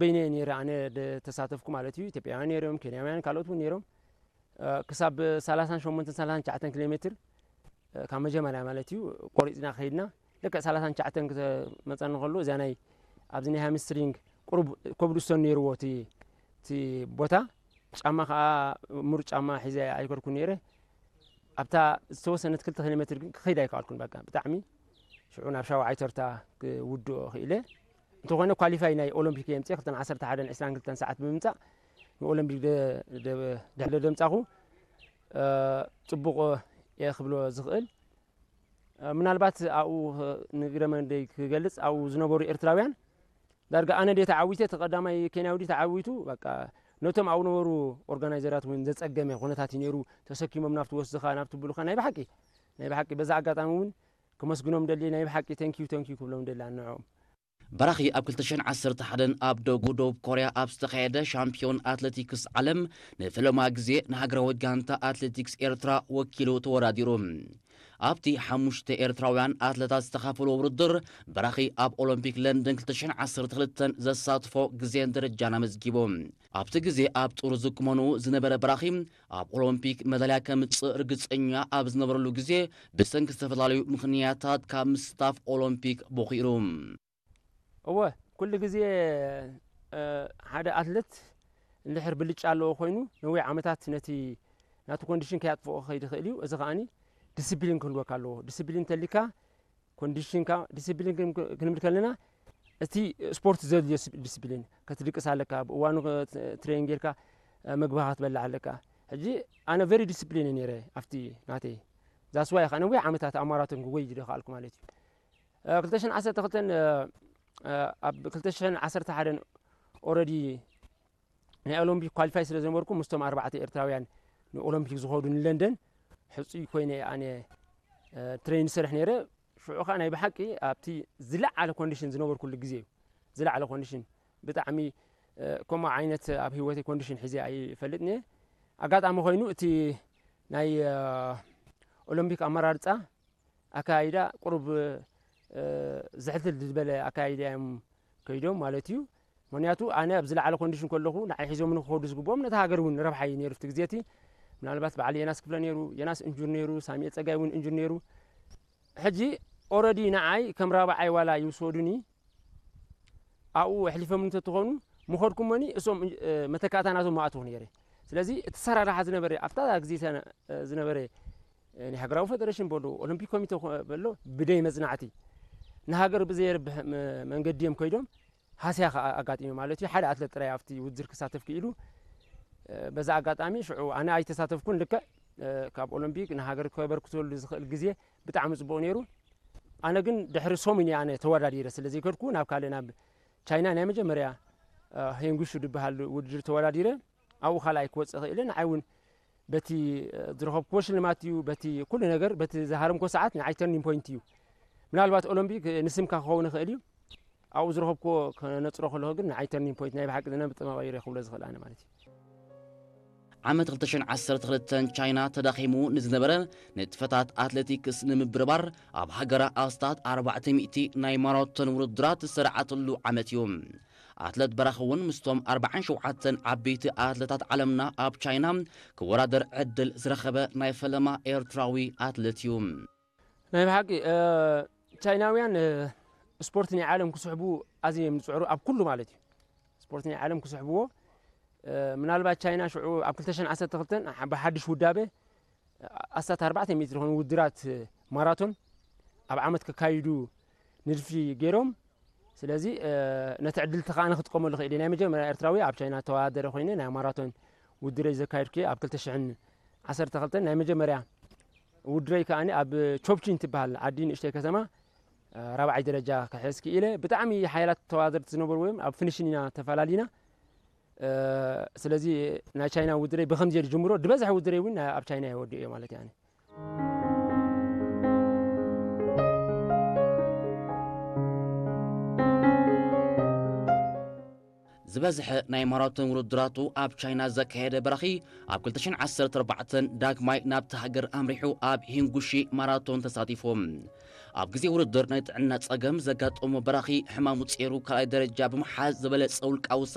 በይነ ነይረ ኣነ ተሳተፍኩ ማለት እዩ። ኢትዮጵያውያን ነይሮም፣ ኬንያውያን፣ ካልኦት እውን ነይሮም። ክሳብ ሰላሳን ሸሞንተን ሰላሳን ትሽዓተን ኪሎ ሜትር ካብ መጀመርያ ማለት እዩ ቆሪፅና ከይድና። ልክዕ ሰላሳን ትሽዓተን ክመፀኒ ከሎ እዚያ ናይ ኣብዚ ናይ ሃምስትሪንግ ቁሩብ ኮብልስቶን ነይርዎ እቲ ቦታ። ጫማ ከዓ ምሩፅ ጫማ ሒዘ ኣይከድኩ ነይረ። ኣብታ ዝተወሰነት ክልተ ኪሎ ሜትር ግን ክኸይድ ኣይከኣልኩን። በቃ ብጣዕሚ ሽዑ ናብ ሻውዓይ ተርታ ክውድኦ ክኢለ። እንተኾነ ኳሊፋይ ናይ ኦሎምፒክ የምፅእ ክልተን ዓሰርተ ሓደን ዕስራን ክልተን ሰዓት ብምምፃእ ንኦሎምፒክ ድሕሪ ደምፃኹ ፅቡቕ እየ ክብሎ ዝኽእል። ምናልባት ኣብኡ ንግረ መንገደይ ክገልፅ ኣብኡ ዝነበሩ ኤርትራውያን ዳርጋ ኣነ ድየ ተዓዊተ እቲ ቀዳማይ ኬንያዊ ድዩ ተዓዊቱ በቃ ነቶም ኣብኡ ነበሩ ኦርጋናይዘራት እውን ዘፀገመ ኩነታት እዩ ነይሩ። ተሰኪሞም ናብቲ ወስድኻ ናብቲ ብሉኻ ናይ ብሓቂ ናይ ብሓቂ በዛ ኣጋጣሚ እውን ክመስግኖም ደሊ ናይ ብሓቂ ተንኪዩ ተንኪዩ ክብሎም ደሊ ኣንዕኦም። በራኺ ኣብ ክልተ ሽሕን ዓሰርተ ሓደን ኣብ ደጉ ደቡብ ኮርያ ኣብ ዝተኻየደ ሻምፒዮን ኣትሌቲክስ ዓለም ንፈለማ ግዜ ንሃገራዊት ጋንታ ኣትሌቲክስ ኤርትራ ወኪሉ ተወዳዲሩ። ኣብቲ ሓሙሽተ ኤርትራውያን ኣትለታት ዝተኻፈሎ ውድድር በራኺ ኣብ ኦሎምፒክ ለንደን ክልተ ሽሕን ዓሰርተ ክልተን ዘሳትፎ ግዜን ደረጃን ኣመዝጊቡ። ኣብቲ ግዜ ኣብ ጡር ዝቁመኑ ዝነበረ በራኺ ኣብ ኦሎምፒክ መዳልያ ከምጽእ ርግጸኛ ኣብ ዝነበረሉ ግዜ ብሰንኪ ዝተፈላለዩ ምኽንያታት ካብ ምስታፍ ኦሎምፒክ ቦኺሩ። እወ ኩሉ ግዜ ሓደ ኣትለት እንድሕር ብልጫ ኣለዎ ኮይኑ ነዊሕ ዓመታት ነቲ ናቱ ኮንዲሽን ከያጥፍኦ ክኸይድ ይኽእል እዩ። እዚ ከዓኒ ዲስፕሊን ክህልወካ ኣለዎ። ዲስፕሊን እንተሊካ ኮንዲሽንካ ዲስፕሊን ክንብል ከለና እቲ ስፖርት ዘድልዮ ዲስፕሊን ክትድቅስ ኣለካ፣ ብእዋኑ ትሬን ጌርካ ምግብኻ ክትበልዕ ኣለካ። ሕጂ ኣነ ቨሪ ዲስፕሊን ነይረ ኣብቲ ናተይ ዛስዋይ ከዓ ነዊሕ ዓመታት ኣብ ማራቶን ክጎይ ዝደኸኣልኩ ማለት እዩ። ክልተ ሽሕን ዓሰርተ ክልተን ኣብ ክልተ ሽሕን ዓሰርተ ሓደን ኦረዲ ናይ ኦሎምፒክ ኳሊፋይ ስለ ዝነበርኩ ምስቶም ኣርባዕተ ኤርትራውያን ንኦሎምፒክ ዝኸዱ ንለንደን ሕፁይ ኮይነ ኣነ ትሬን ዝሰርሕ ነይረ። ሽዑ ከዓ ናይ ብሓቂ ኣብቲ ዝለዓለ ኮንዲሽን ዝነበርኩሉ ግዜ እዩ። ዝለዓለ ኮንዲሽን ብጣዕሚ ከምኡ ዓይነት ኣብ ህይወተይ ኮንዲሽን ሒዘ ኣይፈልጥን እየ። ኣጋጣሚ ኮይኑ እቲ ናይ ኦሎምፒክ ኣመራርፃ ኣካይዳ ቁሩብ ዝሕልትል ዝበለ ኣካይዳ እዮም ከይዶም ማለት እዩ። ምክንያቱ ኣነ ኣብ ዝለዓለ ኮንዲሽን ከለኹ ንዓይ ሒዞም ንክኸዱ ዝግብኦም ነቲ ሃገር እውን ረብሓ እዩ ነይሩ። እቲ ግዜ እቲ ምናልባት በዓል የናስ ክፍለ ነይሩ፣ የናስ እንጁር ነይሩ፣ ሳሚኤል ፀጋይ እውን እንጁር ነይሩ። ሕጂ ኦረዲ ንዓይ ከም ራብዓይ ዋላ ይውሰዱኒ ኣብኡ ኣሕሊፎም እንተትኾኑ ምኸድኩሞኒ እሶም መተካእታ ናቶም ምኣትኹ ነይረ። ስለዚ እቲ ሰራርሓ ዝነበረ ኣብታ ግዜ ዝነበረ ናይ ሃገራዊ ፌደሬሽን በሎ ኦሎምፒክ ኮሚቴ በሎ ብደይ መጽናዕቲ ንሃገር ብዘየርብሕ መንገዲ እዮም ከይዶም ሃስያ ከዓ ኣጋጢሙ ማለት እዩ። ሓደ ኣትለት ጥራይ ኣብቲ ውድድር ክሳተፍ ክኢሉ በዛ ኣጋጣሚ ሽዑ ኣነ ኣይተሳተፍኩን። ልክዕ ካብ ኦሎምፒክ ንሃገር ከበርክተሉ ዝኽእል ግዜ ብጣዕሚ ጽቡቕ ነይሩ። ኣነ ግን ድሕሪ ሰሙን እየ ኣነ ተወዳዲረ ስለ ዘይከድኩ ናብ ካልእ ናብ ቻይና ናይ መጀመርያ ሄንጉሹ ዝበሃል ውድድር ተወዳዲረ ኣብኡ ካልኣይ ክወፅእ ክእለ ንዓይ እውን በቲ ዝረኸብክዎ ሽልማት እዩ በቲ ኩሉ ነገር በቲ ዝሃረምኮ ሰዓት ንዓይ ተርኒንግ ፖይንት እዩ። ምናልባት ኦሎምፒክ ንስምካ ክኸውን ይኽእል እዩ። ኣብኡ ዝረኸብክዎ ክነፅሮ ከለኹ ግን ንዓይ ተርኒንግ ፖይንት ናይ ብሓቂ ዝነብጥ መቐይረ ክብሎ ዝኽእል ኣነ ማለት እዩ። ዓመት ክልተ ሽሕን ዓሰርተ ክልተን ቻይና ተዳኺሙ ንዝነበረ ንጥፈታት ኣትሌቲክስ ንምብርባር ኣብ ሃገራ ኣስታት ኣርባዕተ ሚእቲ ናይ ማራቶን ውድድራት ዝሰራዓትሉ ዓመት እዩ። ኣትለት በራኺ እውን ምስቶም ኣርባዓን ሸውዓተን ዓበይቲ ኣትለታት ዓለምና ኣብ ቻይና ክወዳደር ዕድል ዝረኸበ ናይ ፈለማ ኤርትራዊ ኣትለት እዩ። ናይ ብሓቂ ቻይናውያን ስፖርት ናይ ዓለም ክስሕቡ ኣዝዮም ዝፅዕሩ ኣብ ኩሉ ማለት እዩ። ስፖርት ናይ ዓለም ክስሕብዎ ምናልባት ቻይና ሽዑ ኣብ ክልተ ሽሕን ዓሰርተ ክልተን ብሓድሽ ውዳበ ኣስታት ኣርባዕተ ሚእቲ ዝኾኑ ውድራት ማራቶን ኣብ ዓመት ክካይዱ ንድፊ ገይሮም። ስለዚ ነቲ ዕድል እቲ ከኣ ክጥቀመሉ ክእል ናይ መጀመርያ ኤርትራዊ ኣብ ቻይና ተወዳደረ ኮይነ ናይ ማራቶን ውድረይ ዘካየድኩ ኣብ ክልተ ሽሕን ዓሰርተ ክልተን ናይ መጀመርያ ውድረይ ከኣ ኣብ ቾፕቺን ትበሃል ዓዲ ንእሽተይ ከተማ ራብዓይ ደረጃ ክሕዝ ክኢለ። ብጣዕሚ ሓያላት ተወዳደርቲ ዝነበሩ እዮም ኣብ ፊኒሽን ኢና ተፈላለና። ስለዚ ናይ ቻይና ውድረይ ብከምዚ እየ ዝጅምሮ ዝበዝሐ ውድረይ እውን ኣብ ቻይና እየ ወዲኦ ማለት እየ። ዝበዝሐ ናይ ማራቶን ውድድራቱ ኣብ ቻይና ዘካየደ በራኺ ኣብ ክልተ ሽሕን ዓሰርተ ኣርባዕተን ዳግማይ ናብቲ ሃገር ኣምሪሑ ኣብ ሂንጉሺ ማራቶን ተሳቲፉ። ኣብ ግዜ ውድድር ናይ ጥዕና ጸገም ዘጋጠሞ በራኺ ሕማሙ ጸይሩ ካልኣይ ደረጃ ብምሓዝ ዝበለጸ ውልቃዊ